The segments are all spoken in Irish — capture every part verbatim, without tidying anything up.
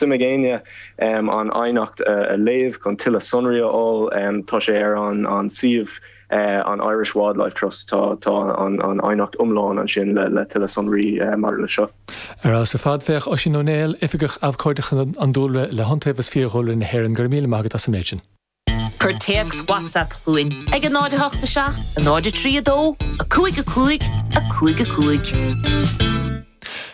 Suim ag éinne an aighneacht a léamh chun tuilleadh sonraí a fháil tá sé ar an an suíomh an Irish Wildlife Trust tá tá an an aighneacht iomlán ansin le le tuilleadh sonraí mar le seo. Ar as a fadféach Oisín Ó Néill Oifigeach Abhcóideachta an Dúlra le hIontaobhas Fiadhúlra na hÉireann go raibh míle maith agat as an méid sin. Cuir téacs WhatsApp chugainn ag a náid a hocht a seacht, a náid a trí a dó, a cúig a cúig, a cúig a cúig.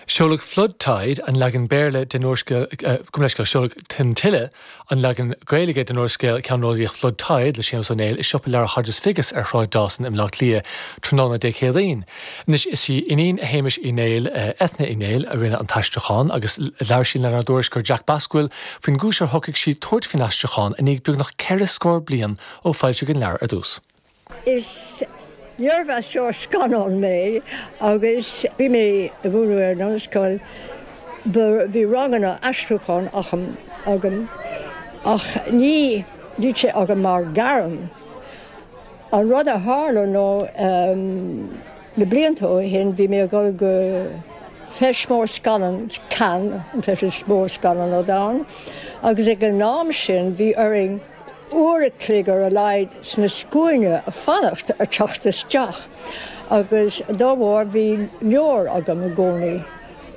Seoladh Flood Tide an leagan Béarla den úrscéal seoladh Tonn Tuile an leagan Gaeilge den úrscéal ceannródaíoch Flood Tide le Séamus Ó Néill i siopa leabhar Hodges Figgis ar Shráid Dawson i mBleá Cliath tráthnóna Dé Céadaoin. Anois is í iníon Shéamuis Uí Néill Eithne Uí Néill a rinne an t-aistriúchán agus labhair sí lenár dtuairisceoir Jack Basquill faoin gcúis ar shocraigh sí tabhairt faoin aistriúchán i ndiaidh beagnach ceithre scór bliain ó foilsíodh an leabhar ar dtús. Is léirmheastóir scannán mé agus bhí mé ag múineadh ar an ollscoil bhí ranganna aistriúcháin agam ach ní bhí sé agam mar ghairm. An rud a tharla ná na blianta ó shin bhí mé ag dul go feis mór scannán Cannes an feis mór scannán ar domhan agus ag an am sin bhí orainn uair a chloig ar a laghad sna scuaine a fanacht ar teacht isteach agus dá bharr bhí leabhar agam i gcónaí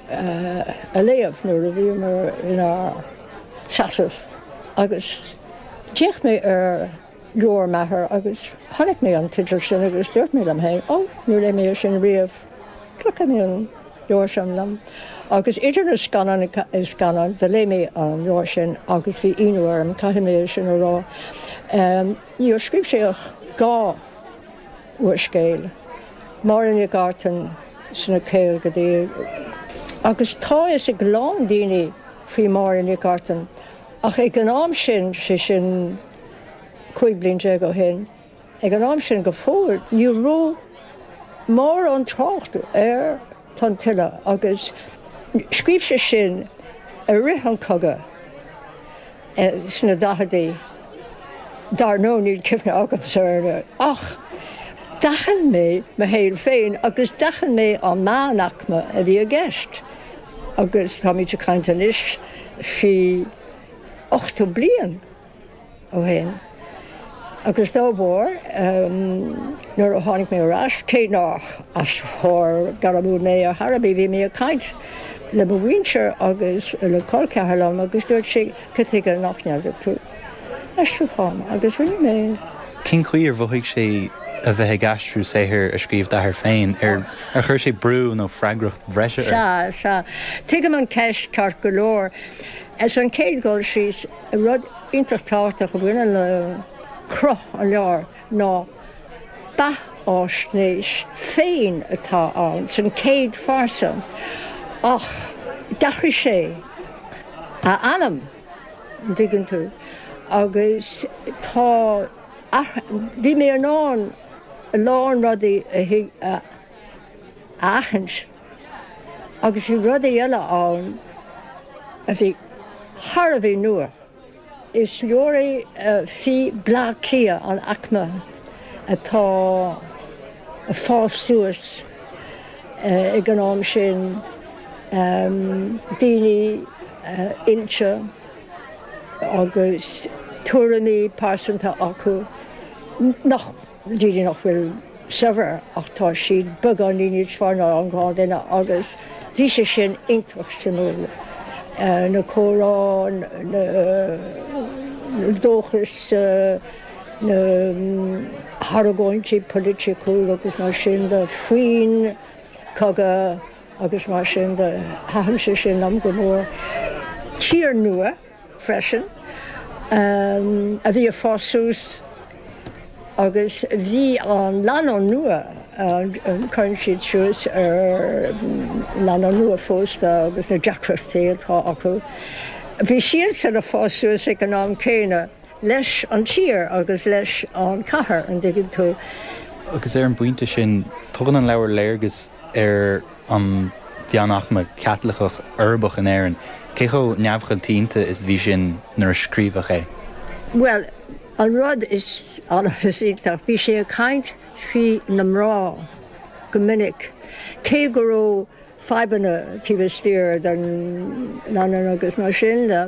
a léamh nuair a bhíomar inár seasamh agus d'fhéach mé ar leabhar m'athar agus chonaic mé an teideal sin agus dúirt mé liom féin ó níor léigh mé sin riamh glacfaidh mé an leabhar sin liom. Agus idir na scannáin scannáin do léigh mé an leabhar sin agus bhí ionadh orm caithfidh mé sin a rá. Níor scríobh sé ach dhá úrscéal, Máire Nic Artain sna caogaidí agus tá fhios ag a lán daoine faoi Máire Nic Artain ach ag an am sin sé sin cúig bliain déag ó shin, ag an am sin go fóill ní raibh mórán trácht ar Tonn Tuile agus scríobh sé sin i rith an chogaidh sna daicheadaí. Dar ndóigh níl cuimhne agamsa air ach d'aithin mé mo shaol féin agus d'aithin mé an meánaicme a bhí i gceist agus táimid ag caint anois faoi ochtó bliain. ó shin. Agus dá bharr, nuair a tháinig mé ar ais, cé nach aistritheoir gairmiúil mé ar chor ar bith, bhí mé ag caint le mo mhuintir agus le col ceathar liom agus dúirt sé, cad chuige nach ndéanfaidh tú aistriúchán? Agus rinne mé. Cén chaoi ar mhothaigh sé a bheith ag aistriú saothar a scríobh d'athair féin? Ar chuir sé brú nó freagracht bhreise ort? Sea, sea. Tuigim an cheist ceart go leor. Ar an chéad dul síos, rud iontach tábhachtach a bhaineann le cruth an leabhair ná beathaisnéis féin atá ann san chéad phearsa ach d'athraigh sé a ainm, an dtuigeann tú, agus tá, bhí mé in ann a lán rudaí a aithint agus bhí rudaí eile ann a bhí thar a bheith nua. Is leabhar é faoi Bleá Cliath, an aicme atá ag fás suas ag an am sin, daoine oilte agus tuairimí pearsanta acu nach. daoine nach bhfuil saibhir ach tá siad beagáinín níos fearr ná an gnáthdhuine agus bhí sé sin iontach suimiúil. Na comhrá, na dóchas, na hargóintí polaitiúil agus mar sin de faoin cogadh agus mar sin de. Thaitin sé sin liom go mór. Tír nua. freisin, a bhí ag fás suas agus bhí an lánúin nua, cuireann siad suas ar lánúin nua phósta agus na deacrachtaí atá acu. Bhí siadsan ag fás suas ag an am céanna leis an tír agus leis an chathair, an dtuigeann tú. Agus ar an bpointe sin, tugann an leabhar léargas ar an mheánaicme Chaitliceach uirbeach in Éirinn. Cé chomh neamhchoitianta is a bhí sin nuair a scríobhadh é? Bhuel, an rud is iontach, bhí sé ag caint faoi na mná go minic, cé go raibh fadhbanna taobh istigh den leanna agus mar sin de.